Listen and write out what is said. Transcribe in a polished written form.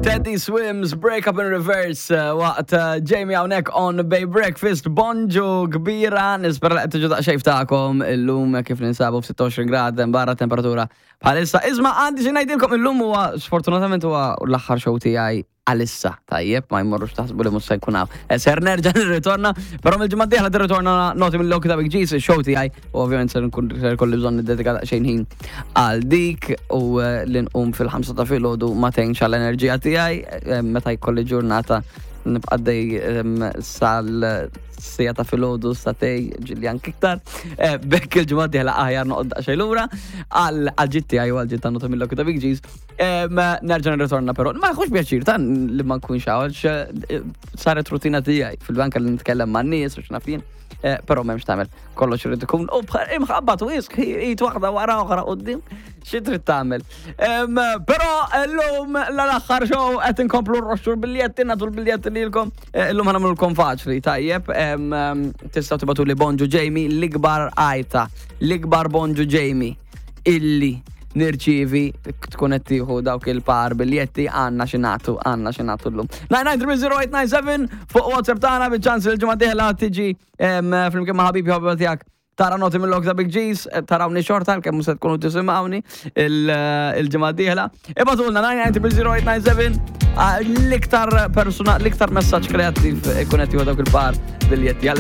Teddy Swims, Break Up in Reverse, eh, waqt eh, Jamie hawnhekk on Bay Breakfast, bonġu kbira, nispera li qed tiġu daqsxejn tagħkom illum kif ninsabu f'26 grad barra temperatura bħalissa. Isma' għandi xi ngħidilkom illum huwa sfortunatament huwa l-aħħar show tiegħi għalissa, tajjeb, ma jmorrux taħsbu li mhux se nkun hawn. Eh, ser nerġa' nirritorna, però mill-ġimgħa d-dieħla tirritorna noti mill-Loki ta' Big G's, show tiegħi, u ovvjament ser nkun ser kolli bżonn niddedika daqsxejn ħin għal dik u eh, li nqum fil-ħamsa ta' filgħodu ma tgħinx għall-enerġija tiegħi eh, meta jkolli ġurnata nibqa' dej sal sija ta' filgħodu satej ġilli anki iktar. Bekk il-ġimgħa d-dieħla aħjar noqgħod daqsxejn lura għal ġitt tiegħi u għal ġitt ta' nota mill-Loki ta' Big G's. Nerġa' nirritorna però ma jħux pjaċir ta' li ma nkunx hawn eh, saret rutina tiegħi fil-banka li nitkellem man-nies u x'naf jien. Eh, però m'hemmx tagħmel kollox irid ikun u imħabbat u isq id waħda wara oħra qudiem xi trid tagħmel. Però llum l-aħħar show qed inkomplu rroxxu l-biljetti nagħtu l-biljetti lilkom. Eh, illum ħanamlulkom faċli tajjeb. Tistgħu tibgħatu li Bonġu Jamie l-ikbar għajta, l-ikbar Bonġu Jamie illi nirċievi tkun qed tieħu dawk il-par biljetti għandna xi nagħtu għandna xi nagħtu llum. 9930897 fuq WhatsApp tagħna biċ-ċans li l-ġimgħa dieħla tiġi flimkien ma' ħabibi ħabiba tiegħek tara noti mill-lok ta' Big G's, eh, tarawni xorta, kemm se tkunu tisimgħuni eh, il-ġimgħa dieħla. Ibatulna 9930897 ah, l-iktar persuna, l-iktar messaġġ kreattiv ikun qed dawk il-par biljetti.